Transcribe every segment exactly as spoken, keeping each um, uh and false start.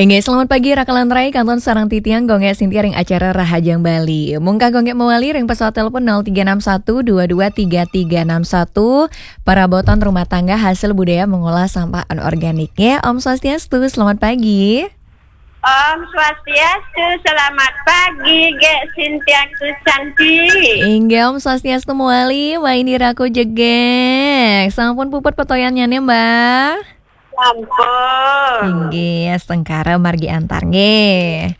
Inggih, selamat pagi, Raka lan Rai, kantun sareng titiang Gung Gek Sintia ring acara Rahajeng Bali. Mungkah Gung Gek mawali ring pesawat telepon nol tiga enam satu dua dua tiga tiga enam satu, perabotan rumah tangga hasil budaya mengolah sampah anorganik. Ya, Om Swastiastu, selamat pagi. Om Swastiastu, selamat pagi, Gek Sintia Susanti. Inggih, Om Swastiastu mawali, Waindira Kujegek. Sampun puput petoyannyane, Mbah? Sampun. Inggih, astungkara margi antar nggih.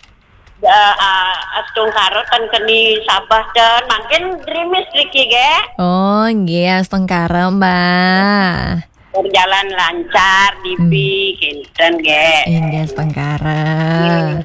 Ya, ah, astungkara ten keni sabeh ten, mangkin grimis niki, Gek. Oh, inggih, astungkara, Mbah. Berjalan lancar, dibi, hmm, kinten, Gek. Inggih, astungkara. Nggih.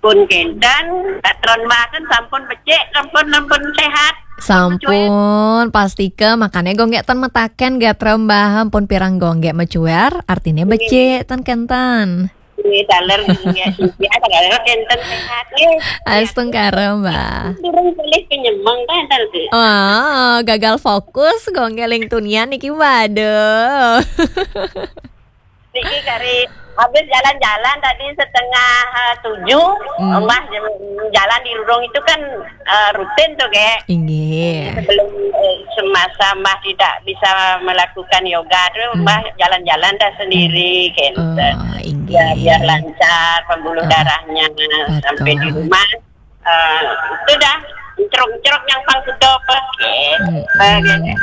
Pun kinten, patron Mbah ten sampun becik, sampun, sampun sehat. Sampun, pastika, makane Gung Gek ten mataken gatra Mbah, pun pirang Gung Gek mecuer, artine, nggih, becik, ten kenten. Nggih, taler nggih, Sintia, taler kenten sehat nggih. Astungkara, Mbah. Durung pilih penyemeng ta, taler. Oh, gagal fokus, Gung Gek ling tunian niki, waduh. Niki kari habis jalan-jalan tadi setengah, eh, tujuh, hmm, Mbah, jalan di Rurung itu kan, eh, rutin tuh, Gek. Inggih. Sebelum, eh, semasa Mbah tidak bisa melakukan yoga tuh, hmm, Mbah jalan-jalan dah sendiri, hmm, gitu. Oh, inggih. Ya, biar lancar pembuluh, oh, darahnya, betul, sampai di rumah. Eh, itu dah, encrok-encrok yang pang sudah apa? Hmm, eh, hmm.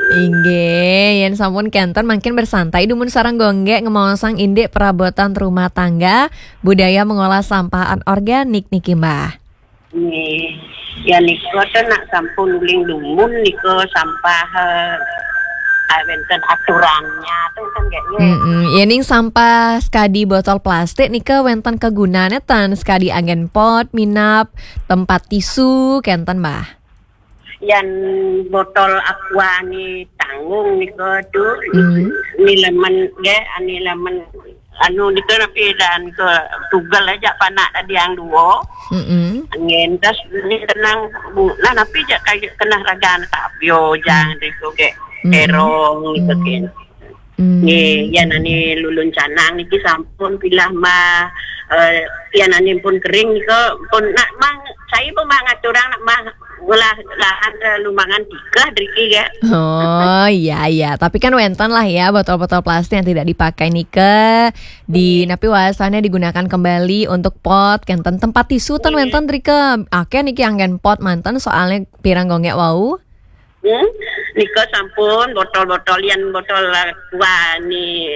Inggih, yen sampun kenten mangkin bersantai dumun sareng Gung Gek ngemaosang indik perabotan rumah tangga, budaya mengolah sampah anorganik niki, Mbah. Nggih. Ya nika ten nak sampun uling dumun nika sampah, eh, ah, wenten aturannya ten, ten, Gek, nggih. Mm-mm. Yening sampah sekadi botol plastik nika wenten kegunane ten, sekadi anggen pot, minab, tempat tisu, kenten, Mbah. Yan botol aqua ni tanggung nika tu, hmm, ni lemen, Gek, ani lemen anu nika napi dan ke tugel aja panak tadi yang dua. Mm-mm. Angin tas ni tenang bu, nah napi ja kaya kena ragan tapio jang, hmm, nika, Gek. Mm-mm. Terong nika, hmm, kin. Hmm. Nggih, yan ani lulun canang niki sampun pilah mah, eh, yan ani pun kering nika pun nak mang, saya pun mang aturang nak mang ngolah lahan, eh, lumangan tikah driki, Gek. Oh, iya, iya. Tapi kan wenten lah ya botol-botol plastik yang tidak dipakai nika. Di, hmm, napi wasane digunakan kembali untuk pot, kenten tempat tisu ten, hmm, wenten drika. Akeh niki anggen pot manten soalnya pirang Gung Gek wau. Hmm? Nika sampun botol-botol yan botol aqua ni,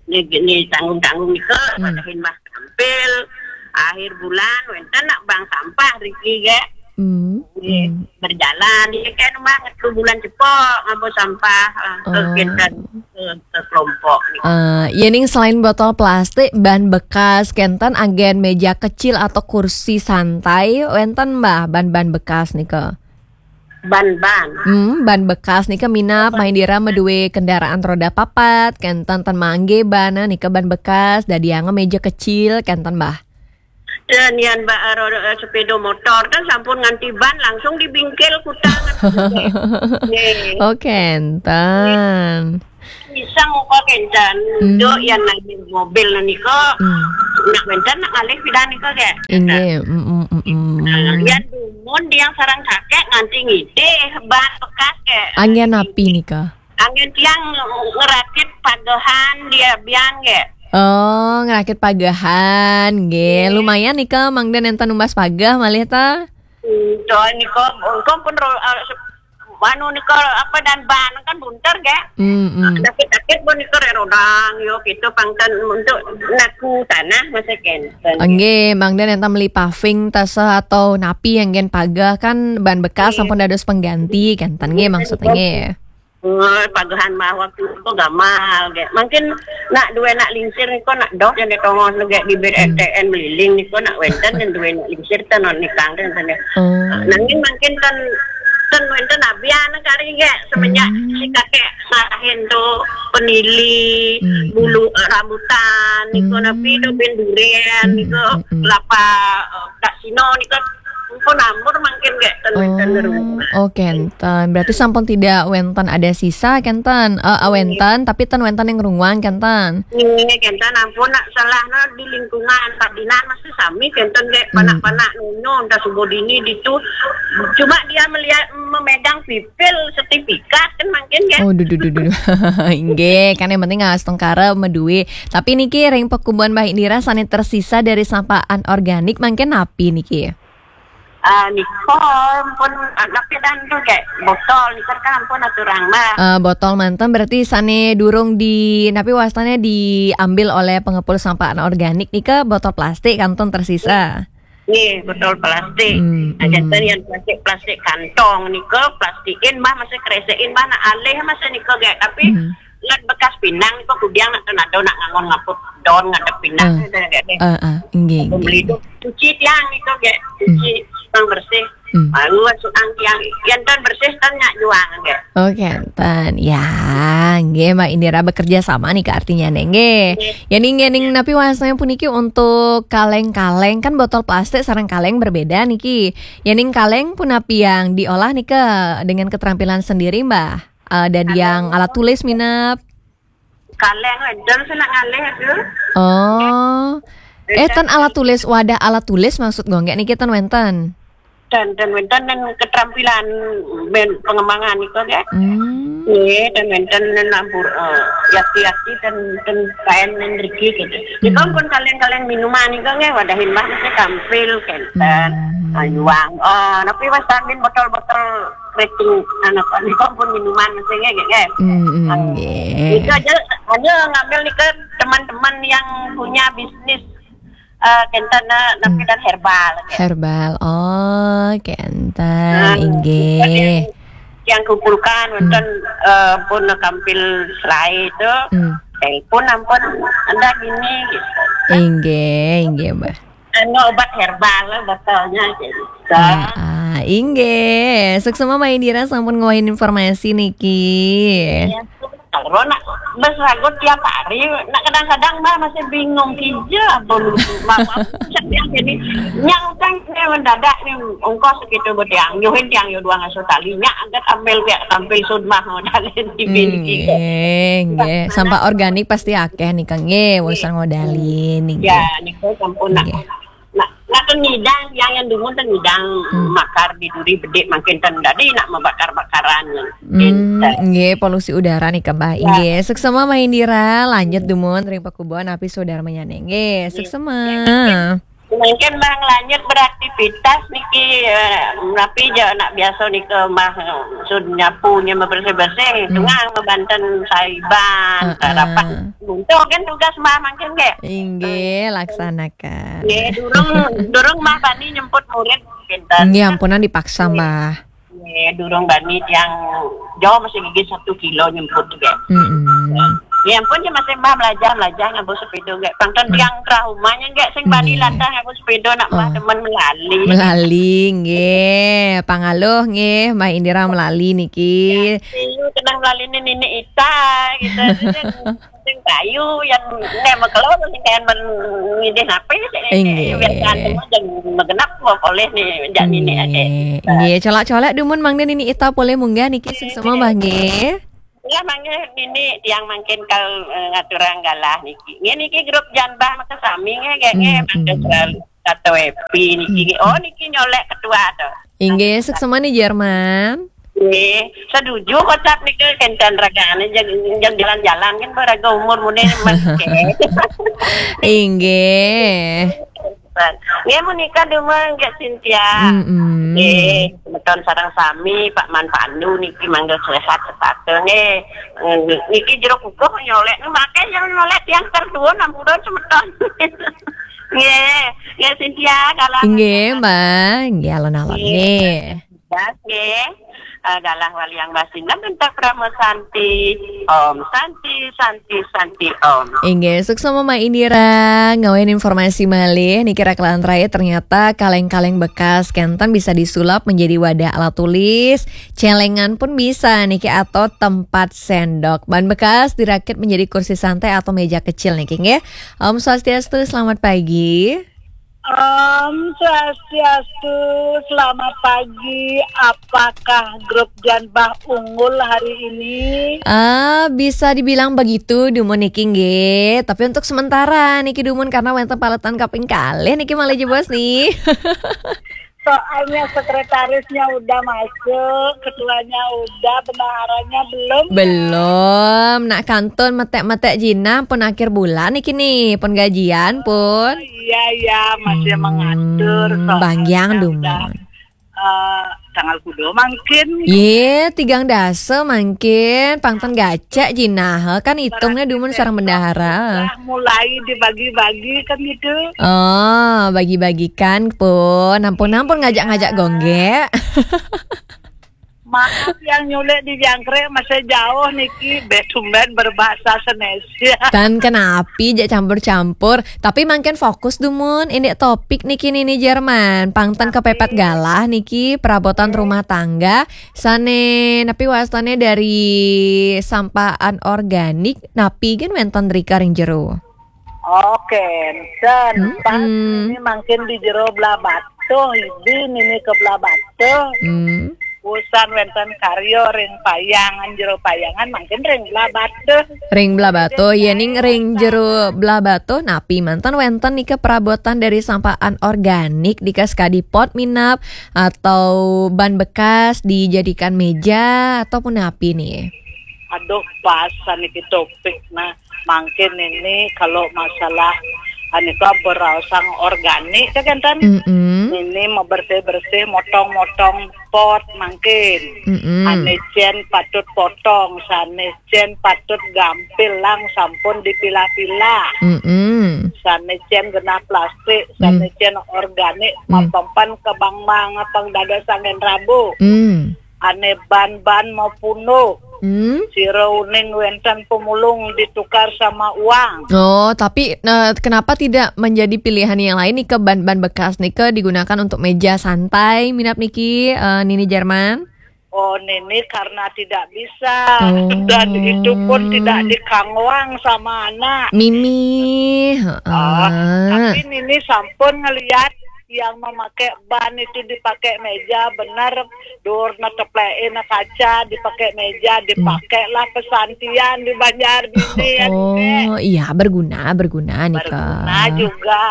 ni, ni tanggung-tanggung nika, hmm, padahin Mbah tampil akhir bulan wenten nak bang sampah driki, Gek. Hmm. Nggih, hmm, berjalan. Dia kan mah ngetu bulan cepok ngabo sampah, eh, ke, oh, kenten, ke, ke kelompok ni. Eh, yening selain botol plastik, ban bekas kenten anggen meja kecil atau kursi santai, wenten, Mbah, ban-ban bekas nika? Ban-ban. Hmm, ban bekas nika minab, main dira madue kendaraan roda papat, kenten ten mangge ban nika ban bekas, dadi anggo meja kecil, kenten, Mbah. Dan yan ba, eh, roda, eh, sepeda motor kan sampun nganti ban langsung dibingkil kutang. Nggih. Oh, kenten. Pisang upa kenten. Hmm. Do yan nanging mobil nika. Hmm. Nak wenten nak ngalih pidan nika, Gek. Inggih, mm, mm, mm, mm. Nah, yan dumun dia sarang kakek nganti ngidih ban bekas, Gek. Anggen napi nika? Anggen tiang ngerakit pagehan dia biang, Gek. Oh, ngerakit pagehan, nggih. Nggih. Lumayan nika mangda nenten numbas pageh malih ta? Hmm, soal nika, engko pun ro-, eh, se-, anu nika apa dan ban kan bunter, Gek. Hmm, hmm. Sakit-sakit pun nika rodang, yo, gitu, pangten untuk naku tanah masa kenten. Nggih, mangda nenten meli paving tasah atau napi anggen pageh kan ban bekas, nggih, sampun dados pengganti, kenten nggih, nggih, maksudnya nggih. Eh, pagehan mah waktu itu gamal, Gek. Mungkin nak dua nak lingsir niko nak doh yang ditongos, Gek, di bibir, hmm, R T N Beliling niko nak wenten yang dua nak lingsir ten non nikang ten, ten, ya. Oh. Nanging mungkin ten, ten wenten abian kali, Gek, semenjak, hmm, si kakek ngarahin tu penili, hmm, bulu, eh, rambutan niko, hmm, napi tu bin durian, hmm, niko, hmm, hmm, kelapa, eh, tak sino niko. Ampun, ampun, mangkin gek ten wenten ngerunguan. Oh, kenten. Berarti sampun tidak wenten ada sisa kenten. Eh, eh, wenten, tapi ten wenten yang ngerunguan kenten. Nggih, kenten ampun nak salah no di lingkungan Pak Dinan masih sami kenten gek panak-panak nyonya udah subuh dini ditu. Cuma dia melihat memegang pipil sertifikat kan mangkin gek. Oh, duh, duh, duh, duh. Inggih, kan yang penting nggak setengkara medue. Tapi niki ring pekubuhan Mbah Indira sane tersisa dari sampah anorganik mangkin napi niki? Ah, nika pun anak dan tu gek botol nika kan ampun aturang mah. Eh, botol manten berarti sane durung di napi wastane diambil oleh pengepul sampah anorganik nika botol plastik kantun tersisa. Nggih, botol plastik. Hmm, Nah, hmm. Jantan yang plastik-plastik kantong nika plastikin mah masih kresekin mah nak alih masih nika gek tapi Hmm. Ngat bekas pinang nika kudiang nak tenado nak ngangon ngaput don ngadep pinang Hmm. itu gek deh. Eh, eh, inggih, Beli inggih. tu cuci tiang nika gek cuci yang bersih. Hmm. Baru masuk ang tiang yang tan bersih tan nyak juang gek. Oke, ten. Ya, nggih, Mbak Indira bekerja sama nih ke artinya nih, nggih. Ya ning ngening napi wastane puniki untuk kaleng-kaleng kan botol plastik sareng kaleng berbeda niki. Ya ning kaleng punapi yang diolah nih ke dengan keterampilan sendiri, Mbak. Eh, ada yang alat tulis minap. Kaleng enten sih nak ngalih tu. Oh. Eh, ten alat tulis, wadah alat tulis maksud gue nggak niki ten wenten. Dan dan wenten dan keterampilan ben pengembangan itu ya. Hmm. Iya, dan wenten dan lampur eh, yaki-yaki dan dan kain dan rigi gitu. Itu pun kaleng-kaleng minuman itu nggih wadahin mah mesti tampil kenten. Hmm. Ayuang. Oh, tapi mas tamin botol-botol keriting anak itu pun minuman mesti nggih nggih. Hmm, hmm, Ah, nggih. Itu aja hanya ngambil nih ke teman-teman yang punya bisnis eh kenten eh, tapi dan herbal. Herbal. Oh, kenten. Ah, Inggih. Yang kumpulkan wonten eh, pun tampil selai itu Hmm. telepon ampun anda gini gitu. Inggih, inggih, Mbak. Anu obat herbal botolnya gitu. Ah, ah, inggih. Suksema Mbak Indira sampun ngwahin informasi niki. Ya, kalau nak bersagut tiap hari, nak kadang-kadang mah masih bingung kija belum mau jadi nyang kan saya mendadak nih ongkos gitu bediang nyuhin tiang yo dua ngasuh tali nyak angkat ambil pihak tampil sud mah modalin di binti. Nggih, nggih. Sampah organik pasti akeh nih, Kang. Nggih, urusan ngodalin nih. Ya, niku sampun nak Nggih. nak nak kan ngidang yang yang dungun kan ngidang makar di duri bedik makin ten dadi nak membakar-bakaran. Hmm, nggih, polusi udara nih, Mbak. Nggih, suksema Mbak Indira, lanjut dumun ring pakubuhan api saudara menyane. Nggih, suksema. Mungkin bang lanjut beraktivitas niki eh, tapi je nak biasa nika mah eh, sud nyapu nya bebersih-bersih, tengah membanten saiban, Heeh. rapat. Untuk kan tugas mah makin nggih. Inggih, laksanakan. Nggih, durung durung mah bani nyemput murid pinten. Nggih, ampunan dipaksa, Mbah. Nggih, durung bani tiang jauh masih gigi satu kilo nyemput juga. Mm-mm. Ya ampun ya masih mah belajar belajar ngabur sepeda nggak. Pangton tiang traumanya nggak sing bani Nggih. Lantas ngabur sepeda nak mah Oh. Teman melali. Melali nggih, pangaluh nggih, Mbak Indira melali niki. Iya, kenang melali ini nini ita gitu. Sing kayu yang nek mekelor sing kayak men ngidih apa sih. Inggih. Biar jangan jangan megenap kok oleh nih jak nini ada. Nggih, nggih, colak-colak dumun mangda nini ita polih munggah niki suksema Mbah nggih. Ya mangga nini tiang mangkin kal eh, ngaturang galah niki. Nggih niki grup janbah maka sami nggih nggih nggih Hmm, mangga hmm. selalu Tato Epi niki. Oh niki nyolek ketua to. Inggih, suksema nih Jerman. Nggih, setuju kocap niki kenten ragane jag jag jalan-jalan kan baraga umur mune mangke. Inggih. Nggih menika dumun nggih Cynthia. Mm-mm. Nggih, semeton sareng sami Pak Man Pandu niki mangga sehat sepatu nggih. Niki jeruk kukuh nyolek make yang nyolek yang terduun ampun semeton. Nggih, nggih Cynthia kalau Inggih, Mbah. Nggih, alon-alon nggih. Nggih. Eh, galah waliang basingan minta Brahma Santi. Om Santi Santi Santi Om. Inggih, suksema Mbak Indira. Ngawain informasi malih niki rakelan terakhir ternyata kaleng-kaleng bekas kenten bisa disulap menjadi wadah alat tulis, celengan pun bisa niki atau tempat sendok. Ban bekas dirakit menjadi kursi santai atau meja kecil niki nggih. Om Swastiastu, selamat pagi. Om Swastiastu, selamat pagi. Apakah grup Janbah unggul hari ini? Ah, bisa dibilang begitu, dumun niki nggih. Tapi untuk sementara niki dumun karena wénten paletan kaping kalih niki malih jebos nih. Soalnya sekretarisnya udah masuk, ketuanya udah, bendaharanya belum. Belum. Nak kantun metek-metek jinah pun akhir bulan niki nih, pun gajian pun. Iya, iya, masih mengatur. Hmm, soalnya banggiang udah, dumun. Eh, tanggal kudo mangkin. Yé, tigang dasa mangkin, pang ten gacek jinah, kan itungnya dumun sareng bendahara. Udah mulai dibagi-bagi kan gitu. Oh, bagi-bagikan pun. Ampun, ampun ngajak-ngajak gonggé. Maaf yang nyulik di jangkrik masih jauh niki, bé tumben berbahasa Senesia. Tan kenapi jak campur-campur, tapi mangkin fokus dumun, ini topik niki Nini Jerman. Pang ten kepepet galah niki perabotan rumah tangga, sané napi wastané dari sampah anorganik, napi gén wénten rika ring jero. Oké, ten pas ini mangkin di jero Blahbatuh, idi nini ke Blahbatuh. Hmm. Usan wénten karya ring payangan, jero payangan mangkin ring Blahbatuh. Ring Blahbatuh, yéning ring jero Blahbatuh, napi manten wénten nika perabotan dari sampah anorganik, nika sakadi pot minab atau ban bekas dijadikan meja ataupun napi nih? Aduh, pas saniki topik. Nah, mangkin ini kalau masalah anika beraosang organik ya kan, Tan? Mm-mm. Ini mau bersih-bersih, motong-motong pot mangkin. Mm-mm. Ané cén patut potong, sané cén patut gampil lang sampun dipilah-pilah. Mm-mm. Sané cén genah plastik, sané cén organik, mapempan ke bang mang pang dados angin rabu. Mm. Ané ban-ban mau punuk. Hmm? Sira uning wénten pemulung ditukar sama uang. Oh, tapi, eh, kenapa tidak menjadi pilihan yang lain nih, ke ban-ban bekas nih, ke digunakan untuk meja santai, minab niki, eh, Nini Jerman? Oh, Nini karena tidak bisa. Oh. Dan itu pun tidak dikangwang sama anak. Mimi, heeh. Ah, tapi Nini sampun ngeliat yang memakai ban itu dipakai meja, bener, dur na teplekin na kaca, dipakai meja, dipakai lah pesantian di Banjar Dini, ya, Dek. Oh, iya, berguna, berguna nih, Kak. Berguna juga.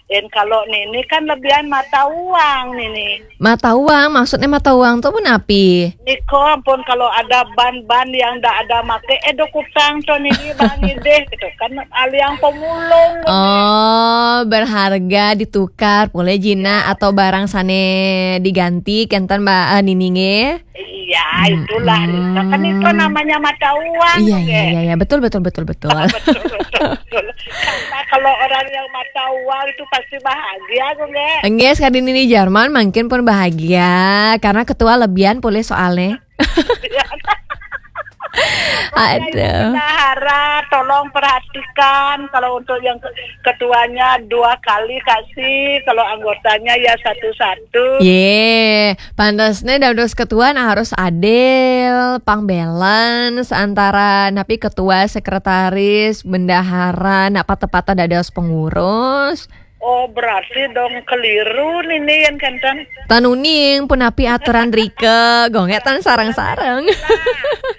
Dan kalau Nini kan lebihan mata uang, Nini. Mata uang, maksudnya mata uang tuh menapi? Niko ampun, kalau ada ban-ban yang ndak ada make, eh, do kutang to Nini bang idih, gitu kan, aliang pemulung. Oh, berharga ditukar, boleh jina atau barang sane diganti, kenten Mbak, eh, Nini nggih? Iya, itulah. Kan itu namanya mata uang, iya, iya, iya, betul, betul, betul, betul. Betul, betul, betul. Karena kalau orang yang mata uang itu pasti bahagia, kok, nggih? Nggih, sekali Nini Jerman mungkin pun bahagia karena ketua lebihan pulih soalnya. Aduh. Bendahara, tolong perhatikan kalau untuk yang ke-, ketuanya dua kali kasih, kalau anggotanya ya satu-satu. Ye, pantasnya dados ketua nah harus adil, pang balance antara napi ketua, sekretaris, bendahara, nak patah-patah dados pengurus. Oh, berarti dong keliru nih, nih, yang kenten. Tanuning, punapi aturan rika, gongek tan sarang-sarang.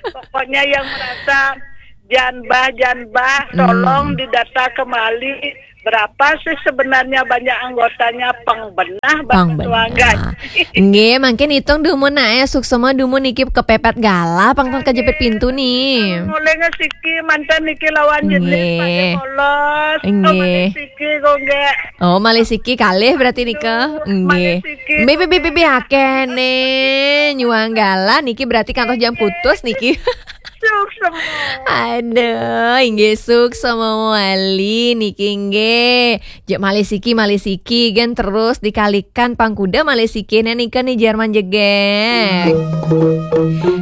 Pokoknya yang merasa janbah-janbah, tolong didata kembali. Berapa sih sebenarnya banyak anggotanya pengbenah, pengbenah. Nggih, mangkin hitung dumun nak ya, suksema dumun niki kepepet galah, pang kejepit pintu nih. Mulai ngesiki mantan niki lawan jenis pakai polos. Nggih. Siki kok nggih. Oh, malih siki kalih berarti nika. Nggih. Malih siki. Bibi, bibi, bibi, akeh nih. Nyuang galah niki berarti kantos jam putus niki. Suksema. Aduh, inggih suksema malih niki nggih. Jek malih siki, malih siki, gen terus dikalikan pangkuda malih siki. Nah, nika nih Jerman jegek.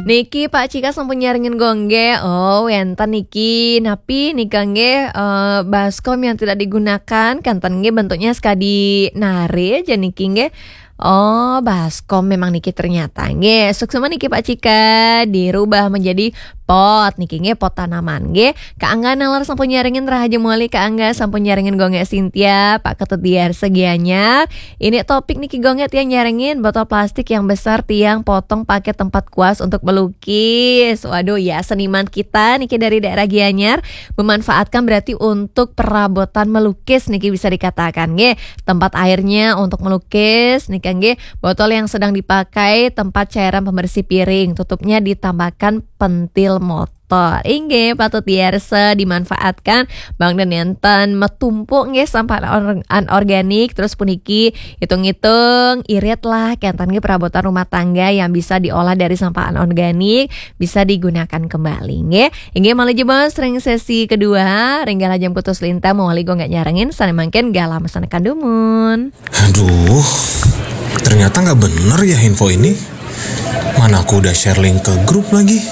Niki Pak Cika sampun nyarengin gongge. Oh, wenten niki. Napi nika nggih, eh, baskom yang tidak digunakan. Kanten nggih bentuknya sekadi nare aja niki nggih. Oh, baskom memang niki ternyata. Nggih, suksema niki Pak Cika. Dirubah menjadi pot niki nggih, pot tanaman nggih. Kak Angga nalar sampun nyarengin, Rahayu Moli Kak Angga sampun nyarengin, Gung Gé Sintia, Pak Ketut Diarsa Gianyar. Ini topik niki Gung Gé tiang nyarengin botol plastik yang besar tiang potong pakai tempat kuas untuk melukis. Waduh ya, seniman kita niki dari daerah Gianyar memanfaatkan berarti untuk perabotan melukis niki bisa dikatakan nggih. Tempat airnya untuk melukis niki nggih, botol yang sedang dipakai tempat cairan pembersih piring, tutupnya ditambahkan pentil motor. Inggih, patut diarsa dimanfaatkan. Bang dan enten metumpuk nggih sampah anor- anorganik, terus puniki hitung-hitung irit lah kenten nggih perabotan rumah tangga yang bisa diolah dari sampah anorganik, bisa digunakan kembali nggih. Inggih, malih jebos ring sesi kedua, ring galah jam kutus lintang mawali Gung Gé nyarengin, sané mangkin galah masanekan dumun. Aduh, ternyata nggak bener ya info ini. Mana aku udah share link ke grup lagi.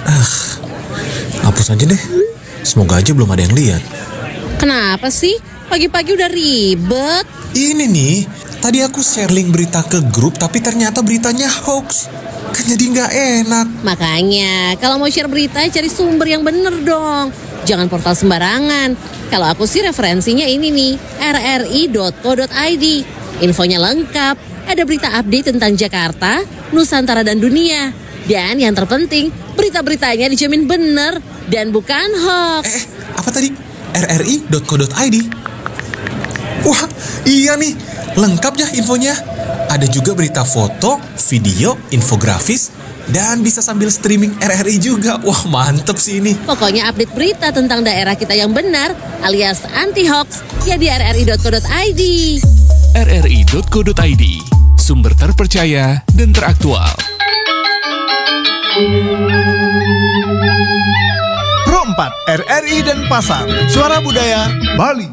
Ah, hapus aja deh. Semoga aja belum ada yang lihat. Kenapa sih? Pagi-pagi udah ribet. Ini nih, tadi aku share link berita ke grup tapi ternyata beritanya hoax. Kan jadi nggak enak. Makanya, kalau mau share berita, cari sumber yang bener dong. Jangan portal sembarangan. Kalau aku sih referensinya ini nih, rri.co.id. Infonya lengkap, ada berita update tentang Jakarta, Nusantara dan dunia. Dan yang terpenting, berita-beritanya dijamin bener dan bukan hoax. Eh, apa tadi? rri.co.id. Wah, iya nih, lengkap ya infonya. Ada juga berita foto, video, infografis, dan bisa sambil streaming RRI juga. Wah, mantep sih ini. Pokoknya update berita tentang daerah kita yang benar alias anti hoax ya di rri.co.id. rri.co.id, sumber terpercaya dan teraktual. Pro empat, RRI Denpasar, Suara Budaya Bali.